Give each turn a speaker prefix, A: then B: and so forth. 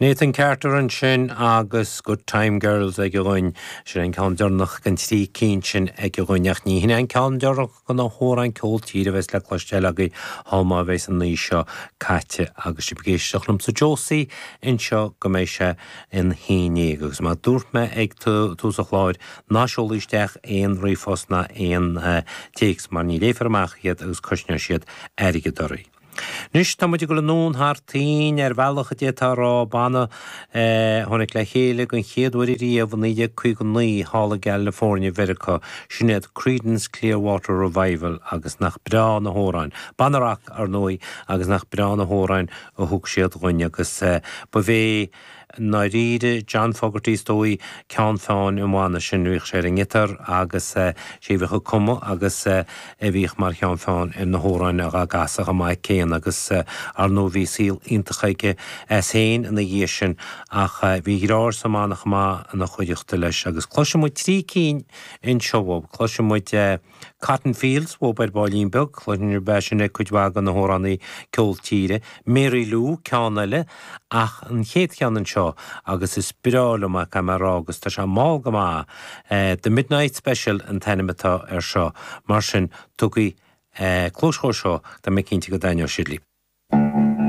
A: Nathan Carter ansin agus Good Time Girls aige dhúinn. Sin an ceann deireanach den trí cinn sin aige dhúinn ach ní hin é an ceann deireanach de na hamhráin ceol tíre a bheas le cloisteáil agaibh thall má bheas an oíche seo caite agus sibh ag éisteacht liomsa Josie anseo go mbeidh sé ina haon ndéag agus mar a dúirt mé ag tús an chláir ná seolaigí isteach aon ríomhphost ná aon téacs mar ní léifear amach iad agus cosnóidh siad airgead oraibh. Anois tá muid ag dul anonn thar toinn ar bhealach a d'fhéadfá a rá, banna a tháinig le chéile den chéad uair ariamh i 1959 thall i gCalifornia Mheiriceá, sin iad Creedence Clearwater Revival agus nach breá na hamhráin, banna rac ar ndóigh, agus nach breá na hamhráin a thug siad dhuinn agus ba bhé I ndáiríre, John Fogerty is dóigh, ceann feadhain an bhanna sin. Bhíodh sé ar an ngiotár agus sé a bhíodh ag cumadh agus a bhíodh mar cheann feadhain ar na hamhráin dhá gcasadh chomh maith céanna agus ar ndóigh bhí saol iontach aige as féin ina dhiaidh sin ach bhí a dheartháir sa mbanna chomh maith ina chuideachta leis agus cloisfidh muid trí cinn anseo uaidh. Cloisfidh muid. Cotton Fields uathub ar baillín beag, cluineann sibh é sin ag cuid mhaith de na hamhránaí ceol tíre. Mary Lou, ceann eile, ach an chéad cheann anseo, agus is breá liom é, caithfidh mé a rá, agus tá sé mall go maith. The Midnight Special an t-ainm atá air seo. Mar sin, tugaigí cluas dhó seo, tá mé cinnte go dtaitneoidh sé libh.